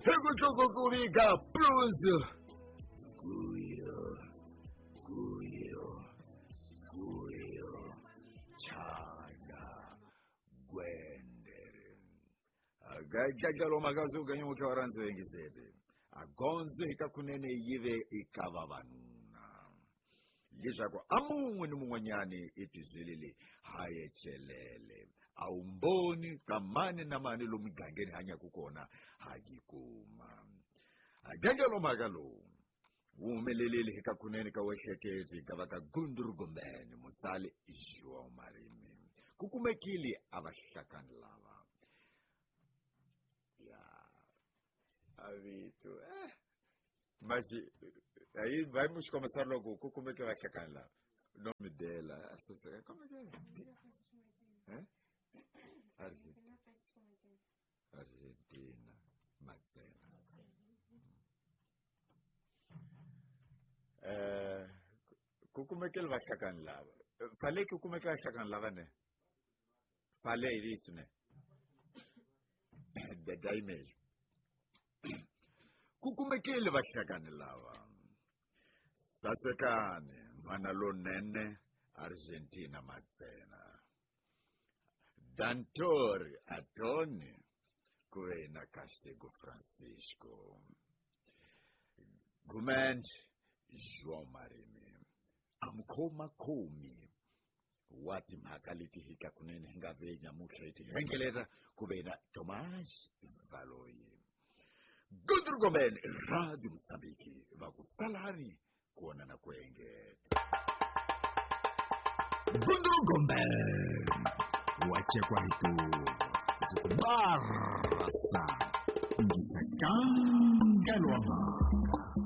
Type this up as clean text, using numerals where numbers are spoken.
Hi ku tluku ku vika plunzu kuyo kuyo kuyo chana gwendere agajajalo makazuka nyoka waranzi wengisete agonzo hikakunene yive ikava vanuna leswaku a mun'we ni mun'wanyani etizwelele hayecelele a wumboni ka mani na mani lomu migangeni hanyaka kona ha yi kuma. Agangelo mhaka lowu wu humelelile eka kunene ka wehleketi ka va ka Gundurugomeni mutsali João Marimi ku kumekile a vahlakani lava ya avito maxi ayi vai mu xikomisa loko ku kumeke vahlakani lava nome dela como é que é? Argentina Matsena. Ku kumekele vahlakani lava fale ku kumeke vahlakani lava ne falei isso né daí mesmo ku kumekele vahlakani lava sasekani mhana lonene Argentina Matsena Dantori Atoni ku ve na Castigo Francisco Gumend João Marimi amukhomakhomi wa timhaka leti hika kunene hi nga ve nyamutlha hi ti hengeleta ku ve na Tomás Valoyi. Gundurugomeni Radio Mozambique va ku salani kona na ku engeta. Gundurugomeni wa cekwa hi tuva ndzi ku barasa ingisa kangalo wa mhaka.